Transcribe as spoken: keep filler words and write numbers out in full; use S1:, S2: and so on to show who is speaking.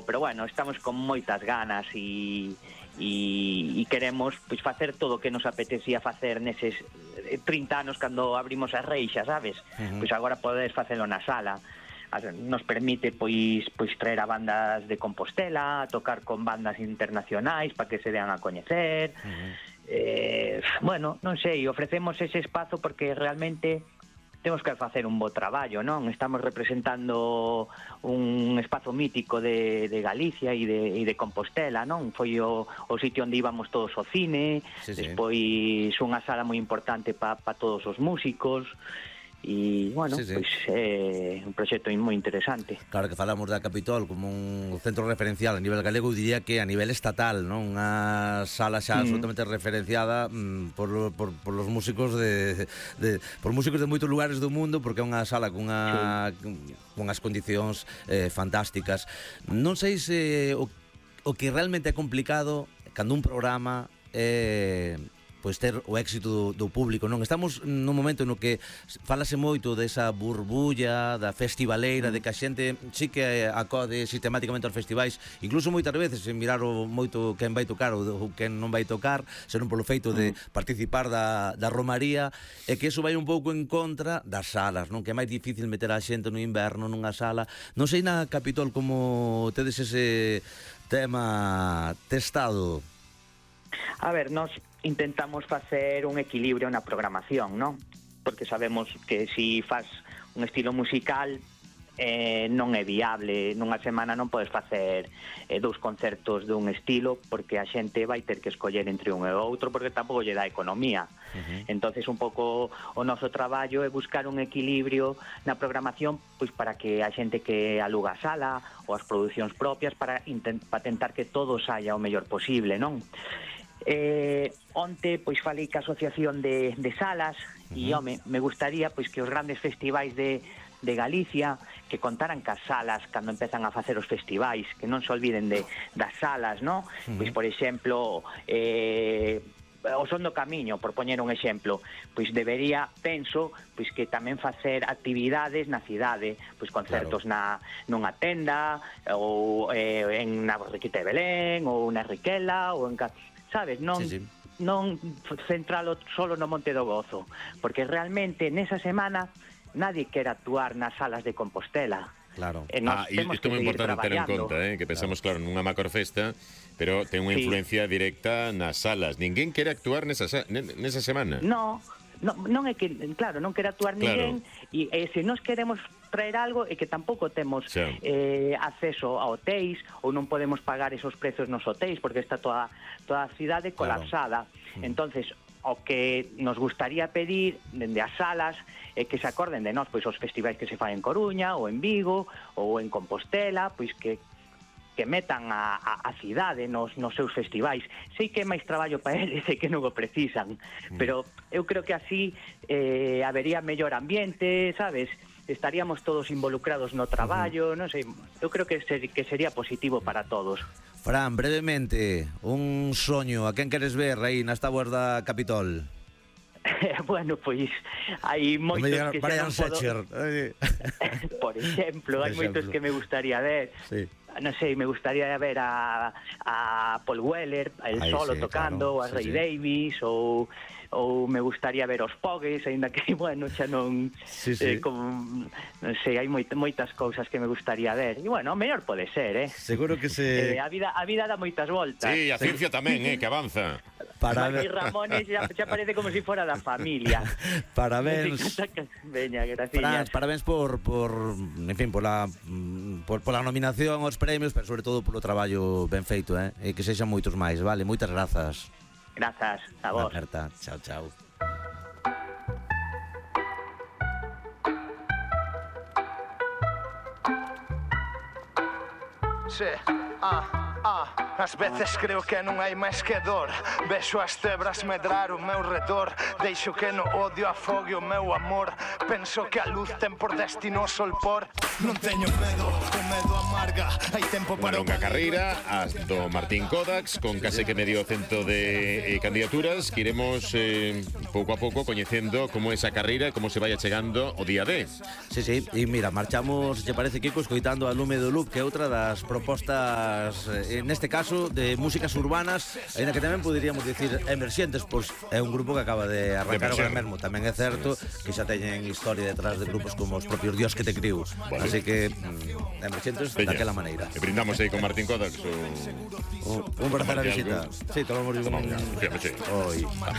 S1: pero bueno, estamos con moitas ganas e e, e queremos pois facer todo o que nos apetecía facer neses trinta anos cando abrimos as reixas, sabes? Uh-huh. Pois agora podes facelo na sala. Nos permite pois pois traer a bandas de Compostela, tocar con bandas internacionais para que se dean a coñecer. Uh-huh. Eh, bueno, non sei, ofrecemos ese espazo porque realmente temos que facer un bo traballo, non? Estamos representando un espazo mítico de, de Galicia e de, e de Compostela, non? Foi o, o sitio onde íbamos todos ao cine, sí, despois sí. Unha sala moi importante para pa todos os músicos. E, bueno, sí, sí. Pois é un proxecto moi interesante.
S2: Claro que falamos da Capitol como un centro referencial a nivel galego, eu diría que a nivel estatal, non? Unha sala xa mm. absolutamente referenciada mm, por, por, por los músicos de, de por músicos de moitos lugares do mundo, porque é unha sala cunha sí. con as condicións eh, fantásticas. Non sei se o, o que realmente é complicado cando un programa é eh, pois ter o éxito do, do público, non? Estamos nun momento no que falase moito desa burbulla da festivaleira, de que a xente sí que acode sistemáticamente aos festivais, incluso moitas veces sen mirar o moito quen vai tocar ou quen non vai tocar, senón polo feito de participar da, da romaría, e que iso vai un pouco en contra das salas, non? Que é máis difícil meter a xente no inverno nunha sala. Non sei na Capitol como tedes ese tema testado.
S1: A ver, nós intentamos facer un equilibrio na programación, non? Porque sabemos que si faz un estilo musical eh, non é viable. Nunha semana non podes facer eh, dous concertos dun estilo porque a xente vai ter que escoller entre un e outro porque tampouco lle dá economía. Uh-huh. Entonces un pouco o noso traballo é buscar un equilibrio na programación pois para que a xente que aluga a sala ou as producións propias para, intent- para tentar que todo saia o mellor posible, non? Eh, onte pois falei ca asociación de, de salas uh-huh. e home, me gustaría pois que os grandes festivais de, de Galicia que contaran cas salas cando empezan a facer os festivais, que non se olviden de, das salas, no? Uh-huh. Pois por exemplo eh, o Son do Camiño, por poñer un exemplo, pois debería, penso, pois que tamén facer actividades na cidade, pois concertos claro. na nunha tenda ou eh, en na Borriquita de Belén ou na Riquela ou en sabes, non, sí, sí. non centralo solo no Monte do Gozo, porque realmente nesa semana nadie quere actuar nas salas de Compostela.
S2: Claro.
S3: Ah, e isto é moi importante ter en conta, eh, que pensamos, claro, nunha macrofesta, pero ten unha sí. influencia directa nas salas. Ninguén quere actuar nesa, nesa semana.
S1: No, no, non é que, claro, non quere actuar ninguén, claro. e, e se nos queremos traer algo é que tampouco temos sí. eh, acceso a hotéis ou non podemos pagar esos prezos nos hotéis porque está toda, toda a cidade colapsada. Claro. Entonces, o que nos gustaría pedir dende as salas é que se acorden de nós, pois os festivais que se fan en Coruña ou en Vigo ou en Compostela, pois que que metan a, a, a cidade nos, nos seus festivais. Sei que é máis traballo para eles e que non o precisan, mm. pero eu creo que así eh, habería mellor ambiente, sabes? Estaríamos todos involucrados no traballo, uh-huh. non sei, eu creo que, ser, que sería positivo para todos.
S2: Fran, brevemente, un soño, a quen queres ver aí nas táboas da Capitol?
S1: Bueno, pois hai moitos
S2: llegar,
S1: que xa non
S2: podo...
S1: Por exemplo, hai moitos que me gustaría ver. Sí. Non sei, me gustaría ver a, a Paul Weller, el Ay, solo sí, tocando, claro. a Ray sí, Davis, sí. ou ou me gustaría ver os Pogues, aínda que, bueno, xa non sí, sí. Eh, con, non sei, hai moit, moitas cousas que me gustaría ver. E, bueno, o mellor pode ser, eh?
S2: Seguro que se...
S1: Eh, a vida a vida dá moitas voltas.
S3: Sí, a ciencia tamén, eh, que avanza.
S1: Para ver... Ramones xa, xa parece como se si fora da familia.
S2: Parabéns.
S1: Veña, gracias.
S2: Fran, parabéns por, por, en fin, por la, por, por la nominación aos premios, pero sobre todo polo traballo ben feito, eh? E que sexan moitos máis, vale? Moitas grazas.
S1: Grazas, a vos.
S2: Aperta. Chao, chao.
S4: Sí, ah, ah. Ás veces creo que non hai máis que dor. Vexo as tebras medrar o meu redor. Deixo que no odio afogue o meu amor. Penso que a luz ten por destino o solpor. Non teño medo, o medo amarga. Hai tempo para
S3: unha longa carreira as do Martín Kodax, con case que medio cento de eh, candidaturas, que iremos eh, pouco a pouco coñecendo como esa carreira, como se vai achegando o día D.
S2: Sí, sí, e mira, marchamos, lle parece, Kiko, escoitando a Lume do Loop, que é outra das propostas, eh, neste caso, de músicas urbanas, ainda que tamén poderíamos dicir emerxentes, pois é un grupo que acaba de arrancar agora mesmo. Tamén é certo que xa teñen historia detrás de grupos como os propios Dios que te criou. Vale. Así que, mm, emerxentes daquela maneira.
S3: E brindamos aí con Martín Kodax.
S2: Un, un, un placer a visita. Sí, tomamos un...
S3: Tomamos, fíjame, sí.
S2: Hoy.